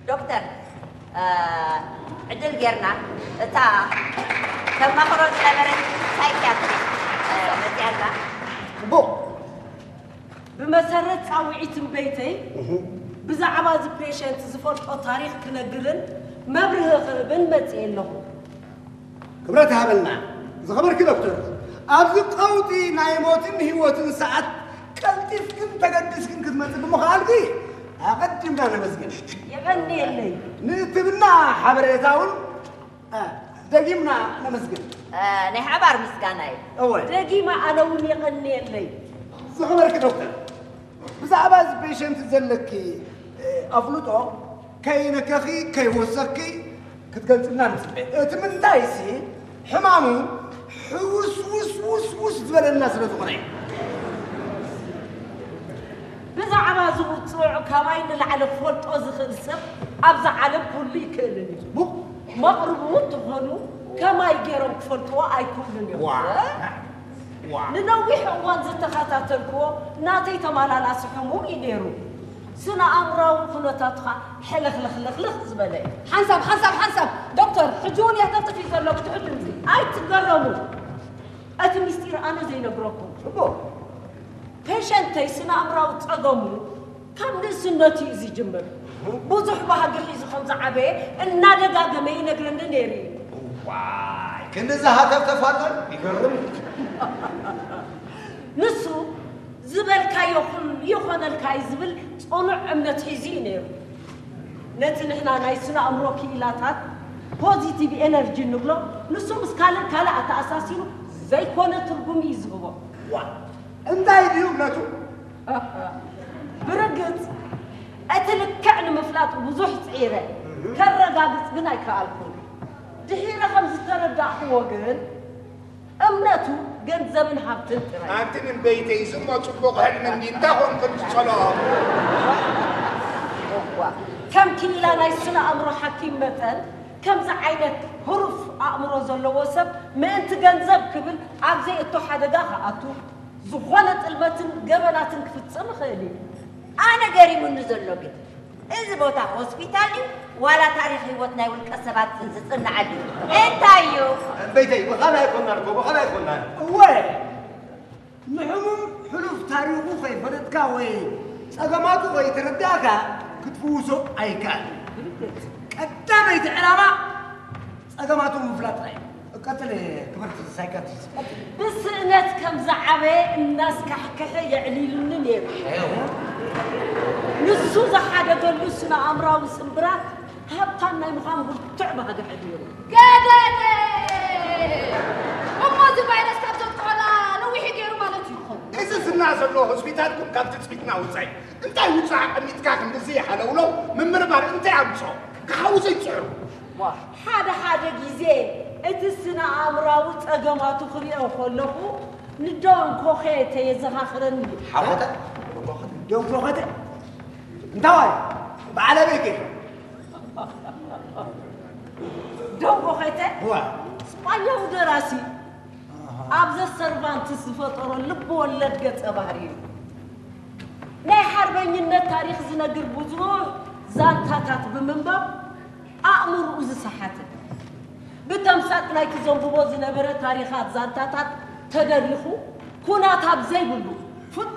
ዶክተር፣ እ፣ ዕድል ጌርና እታ ተማኽሮ ዝነበረት ሳይኪያትሪስት፣ እ፣ መጺኣና። ጽቡቕ። ብመሰረት ጻውዒት እምበይተይ፣ እህ። ብዛዕባ እዚ ፔሸንት ዝፈልጦ ታሪኽ ክነግርን መብርሂ ክህብን መጺኤ ኣለኹ። ክብረት ይሃበልና። ዝኸበርኪ ዶክተር፣ ኣብዚ ቀውጢ ናይ ሞትን ህይወትን ሰዓት ቀልጢፍክን ተገዲስክን ክትመጽእ ብምኽኣልኪ ኣቐዲምና ነመስግን። የቐንየለይ። ንእትብና ሓበሬታ እውን፣ እ፣ ደጊምና ነመስግን። እ፣ ናይ ሓባር ምስጋና እዩ። እወ። ደጊመ ኣነ እውን የቐንየለይ። ዝኸበርኪ ዶክተር፣ ብዛዕባ እዚ ፔሸንት ዘለኪ፣ እ፣ ኣፍልጦ ከይነከኺ፣ ከይወሰኽኪ ክትገልጽልና ንጽበ። እቲ ምንታይሲ ሕማሙ ሕውስ ውስ ውስ ውስ ዝበለና ስለ ዝኾነ እዩ። ብዛዕባ እዚ ውጹዕ ካባይ ንላዕሊ ክፈልጦ ዝኽእል ሰብ ኣብዛ ዓለም ኩሉ ይክእልን እዩ። ቡ- መቕርቡ እንተኾኑ ከማይ ገይሮም ክፈልጥዎ ኣይክእሉን እዮም። ዋ። ዋ። ንነዊሕ እዋን ዝተኸታተልክዎ ናተይ ተመላላሲ ሕሙም እዩ ነይሩ። ስነ ኣእምራዊ ኩነታቱ ኸኣ ሕልኽልኽልኽልኽ ዝበለ እዩ። ሓንሳብ፣ ሓንሳብ፣ ሓንሳብ! ዶክተር፣ ሕጂ እውን የህተፍትፍ እዩ ዘሎ፣ ክትሕሉ እንጂ። ኣይትገረሙ። እቲ ምስጢር ኣነ ዘይነግረኩም። እሞ? ፔሸንተይ ስነ ኣእምራዊ ጸገሙ ካብ ንእስነቱ እዩ ዝጅምር። ብዙሕ ባህጊ ሒዙ ከም ዝዓበየ እናደጋገመ ይነግረኒ ነይሩ እዩ። ዋይ፣ ክንድዚ ሃተፍተፍ ኣሎ? ይገርም። ንሱ ዝበልካዮ ኩሉ ይኾነልካ እዩ ዝብል ጽኑዕ እምነት ሒዙ እዩ ነይሩ። ነቲ ንሕና ናይ ስነ ኣእምሮ ክኢላታት ፖዚቲቭ ኤነርጂ እንብሎ፣ ንሱ ምስ ካልእ ካልእ ኣተኣሳሲሩ ዘይኮነ ትርጉም እዩ ዝህቦ። ዋ፣ እንታይ ድዩ እምነቱ? ብርግጽ፣ እቲ ልክዕ ንምፍላጥ ብዙሕ ጽዒረ፣ ከረጋግጽ ግን ኣይከኣልኩን። ድሒረ ከም ዝተረዳእክዎ ግን፣ እምነቱ ገንዘብን ሃብትን ጥራይ። ኣንቲ ምን በይተይ፣ ዝሞ ጽቡቕ ሕልሚ እንዲ እንታይ ኾንክን ትጸልኦ? እዋ፣ ከም ክኢላ ናይ ስነ ኣእምሮ ሓኪም መጠን፣ ከምዚ ዓይነት ህሩፍ ኣእምሮ ዘለዎ ሰብ ምእንቲ ገንዘብ ክብል ኣብ ዘይእቶ ሓደጋ ክኣቱ፣ ዝኾነ ጥልመትን ገበናትን ክፍጽም ይኽእል እዩ። ኣነ ገሪሙኒ ዘሎ ግን፣ እዚ ቦታ ሆስፒታል ድዩ ዋላ ታሪኽ ህይወት ናይ ውልቀ ሰባት ዝጽንዓሉ እዩ? እንታይ እዩ? እምበይተይ፣ ብኻልእ ኣይኮናን እኮ፣ ብኻልእ ኣይኮናን። እወ፣ ንሕሙም ሕሉፍ ታሪኹ ከይፈለጥካ ወይ ጸገማቱ ከይተረዳእካ ክትፍውሶ ኣይከኣልን። ቀዳመይቲ ዕላማ ጸገማቱ ምፍላጥ ጥራይ እዩ። ቀጽል፣ ክብርቲ ሳይካትሪስት፣ ቀጽል። ብስእነት ከም ዝዓበየ እናስካሕክሐ የዕሊሉኒ ነይሩ። ንሱ ዝሓደገሉ ስነ ኣእምራዊ ስምብራት ሃብታም ናይ ምዃን ብርቱዕ ባህጊ ኣሕዲሩ። ገደደ! እሞ እዚ ቫይረስ ካብ ዘጥቅዖና ነዊሕ ገይሩ ማለት እዩ ክኸውን። እዚ ዝና ዘሎ ሆስፒታልኩም ካብ ትጽቢትና ወጻኢ። እንታይ ውጻእ ኣቐሚጥካ ክንድዚ ሓለውለው ምምርማር እንታይ ኣምጽኦ? ክሓውሶ ይጽዕሩ። ሓደ ሓደ ግዜ እቲ ስነ ኣእምራዊ ጸገማቱ ክሪኦ ከለኹ ንዶን ኮኼተ የዘኻኽረኒ። ሓወተ? ዶን ኮኸተ? እንታዋይ? በዓል ኣበይ ከ? ዶን ኮኼተ? እዋ። ስጳኛዊ ደራሲ። ኣሃ። ኣብ ዘ ሰርቫንትስ ዝፈጠሮ ልብ ወለድ ገጸ ባህሪ እዩ። ናይ ሓርበኝነት ታሪኽ ዝነግር ብዙሕ ዛንታታት ብምንባብ ኣእምርኡ ዝሰሓተ፣ ብተምሳጥ ናይቲ ዘንብቦ ዝነበረ ታሪኻት ዛንታታት ተደሪኹ ኩናት ኣብ ዘይብሉ ፍጹም